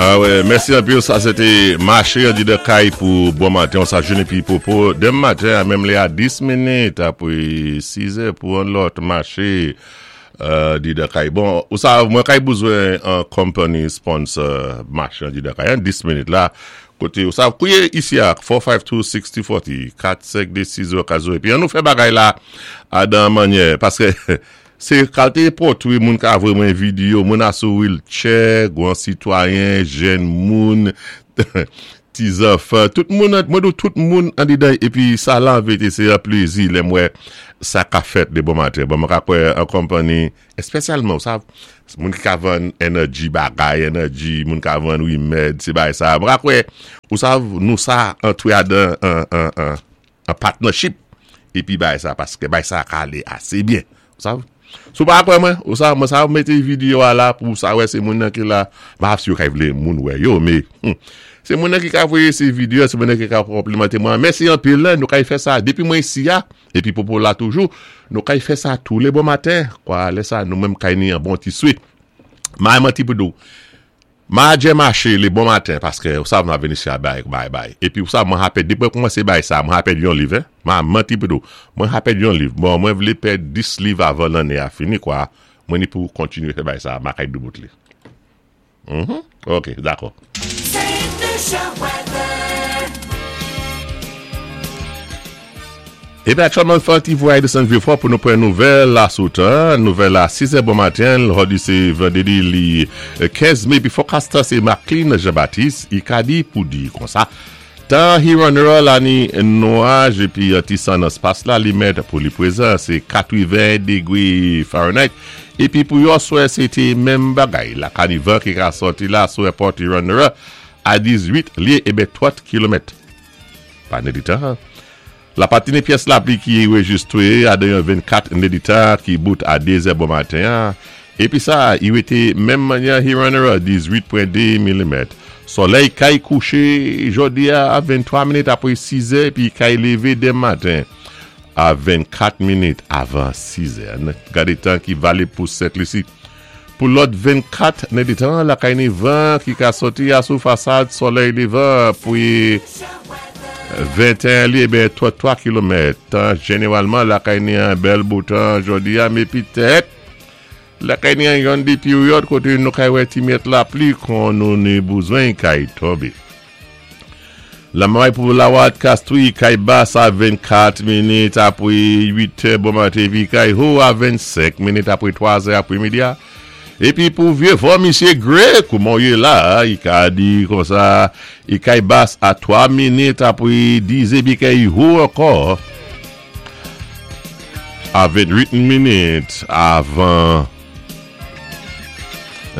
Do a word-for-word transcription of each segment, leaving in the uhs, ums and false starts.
Ah wè, mèsi anpil, sa sé té maché andidan kay pou bon maten, sa jounen pi popo. Denmen maten, a menm lè a dis minit, apwé sis è pou an lòt maché euh, andidan kay. Bon, ou sa, mwen kay bezwen an company sponsor maché andidan kay, an dis minit la, koté, ou sa, kouwé isi a, kat senk de, sis zéro kat zéro, kat senk de, sis zéro kat zéro, épi an nou fè bagay la a dan mannyè, paské sé kalité pòtwé moun ka voyé mwen videyo, moun a sou wheelchair, gwan sitwayen, jèn moun, ti zanfan, tout moun, mwen di tout moun andidan, épi sa la an vérité sé an plézi, lè mwen sa ka fèt de bon maten. Bon, mwen ka kwè an company, espesyalman, ou sa, moun ki ka vann energy bagay, energy, moun ka vann remèd, sé bagay sa. Mwen ka kwè, ou sa, nou sa antwé adan an, an, an, an partnership, épi bagay sa, paské bagay sa ka alé asé byen, ou sa. Sou pa kwè mwen, ou sa, mwen sa mété videyo a la pou sa wè sé moun nan ki la, ma si yo ka vlé moun wè yo, mé, hmm, sé moun nan ki ka voyé sé videyo, sé moun nan ki ka konplimanté mwen. Mèsi anpil, nou kay fè sa, dépi mwen isi ya, épi popo la toujou, nou kay fè sa tou lé bon maten, kwa lè sa nou menm kay ni an bon ti swit. Ma manti pou dou, ma djé maché lé bon maten, paské ou sa mwen vini si a bay, bay, bay. Épi ou sa mwen ha pèd, dépi mwen koumansé bay sa, mwen ha pèd yon liv, eh? Ma manti pou dou, mwen ha pèd yon liv. Bon, mwen vlé pèd dis liv avan lanné a fini, kwa, mwen ni pou kontinyé fè bay sa, ma kay doubout li. Mhm, ok, dakò. Saint Lucia weather. Épi aktyèlman, fè ti vwayaj desann Vieux-Fort pou nou pran nouvèl la sou tan, nouvèl a sis è bon maten, jòdi sé vandrédi li kenz mé, épi forecaster sé Maclean Jean-Baptiste, i ka di pou di kon sa. Tan Huron la ni nwaj épi ti san nan spas la li mèt pou li pwézan, sé katreven dégwé Fahrenheit. Épi pou yo swè, sé té menm bagay. La ka ni van ki ka sòti la sou airport Huron a dizuit lyé ében twa kilomèt. Pa nèditan. La pati ni pyès lapli ki rejistwé a de vennkat nèditan ki bout a dé zè bon maten. Épi sa, i wété menm mannyè Huron dizuit pwen de milimèt. Solèy kay kouché jòdi a venntwa minit apwé sis è, épi kay lévé denmen maten a vennkat minit avan sis è. Gadé tan ki valib pou Sent Lisi. Pou lòt vennkat nèditan, la kay ni van ki ka sòti a sou fasad solèy lévan pou venteyen lyé ben twa kilomèt. Tan jénéwalman la kay ni an bèl bo tan jòdi a, mé pitèt la kay ni an yon di peryòd koté nou kay wè ti myèt lapli kon nou ni bezwen kay tonbé. La may pou Lawat Castries kay bas a vennkat minit apwé uit è bon maten épi kay wo a vennsenk minit apwé twa è apwé midi a. Épi pou Vieux-Fort, Misyé Gray, kouman yé la, i ka di kon sa, i kay bas a twa minit apwé dis épi kay wo ankò a vennwit minit avan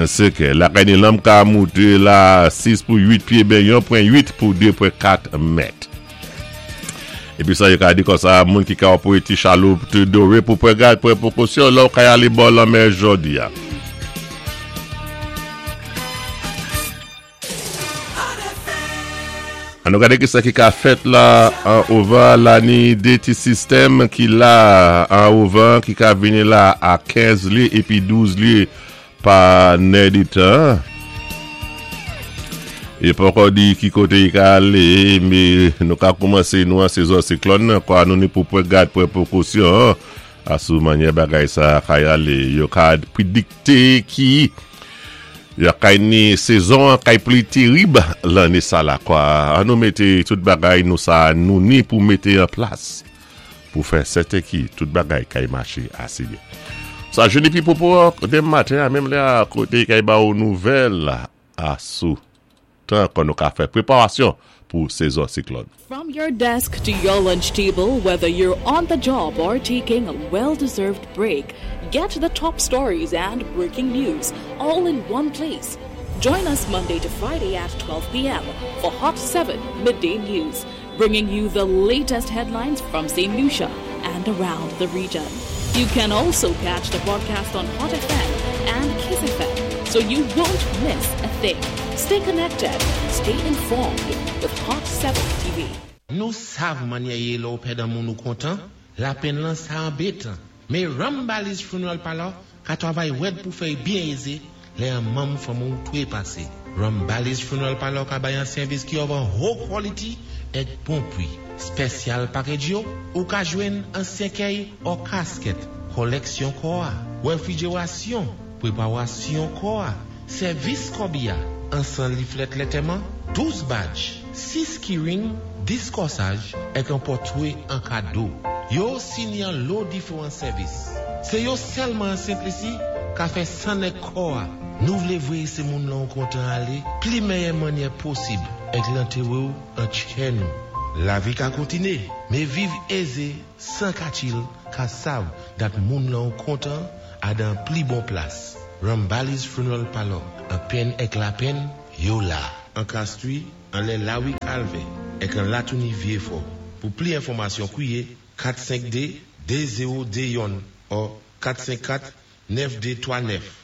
senk è. La kay ni lanmè ka mouté la sis pou uit pyé ben yon pwen uit pou de pwen kat mèt. Épi sa yo ka di kon sa, moun ki ka pou ti chaloup te doré pou pran gad pou pwékosyon lò kay alé bò lanmè jòdi a. Hot F M. An nou gadé ki sa ki ka fèt la an ovan la ni dé ti sistèm ki la an ovan ki ka vini la a kenz lyé épi douz lyé pa nèditan. É poko di ki koté i ka alé, mé nou ka koumansé nou an sezon siklòn nan, kwa nou ni pou pran gad pran pwékosyon a sou mannyè bagay sa kay alé. Yo ka prédikté ki yo kay ni sezon an kay pli térib lanné sa la kwa. An nou mété tout bagay nou sa nou ni pou mété an plas pou fè sèten ki tout bagay kay maché asé byen. Sa jounen pi popo denmen maten a menm lè a koté kay ba ou nouvèl a sou tan kon nou ka fè préparasyon pou sezon siklòn. From your desk to your lunch table, whether you're on the job or taking a well-deserved break, get the top stories and breaking news all in one place. Join us Monday to Friday at twelve p m for Hot seven Midday News, bringing you the latest headlines from Saint Lucia and around the region. You can also catch the broadcast on Hot F M and Kiss F M, so you won't miss a thing. Stay connected, stay informed with Hot seven T V. Nou sav mannyè yé lò ou pèd an moun ou kontan, lapenn lan sa anbétan. Mé Rambali's Funeral Parlor ka twavay wèd pou fè byen ézé, Lè an manm fanmi ou twé pasé. Rambali's Funeral Parlor ka bay an sèvis ki of an haut quality èk bon pwi. Special package yo, ou ka jwenn an sèkèy ou casket, koleksyon kò a, réfrigération, préparation kò a, sèvis kòbiya, an san leaflet lantèman, douz badge, sis keyring, dis kòsaj, èk an pòtwé an kado. Yo sini an lo diferan sèvis. Sé yo sèlman an Sent-Lisi ka fè sann èk kò a. Nou vlé vwé sé moun lan kontan alé, pli mèyè mannyè posib, èk lantéré ou an tchè nou. Lavi ka kontiné, mé viv ézé, san katchil, ka sav dat moun lan kontan a dan pli bon plas. Rambali's Funeral Parlor, an penn èk lapenn, yo la. An Castries, anlè Lawi Calvin, èk an Latouni Vieux-Fort. Pou pli enfòmasyon kwiyé kat senk de, de zewo de youn ou kat senk kat, nèf de twa nèf.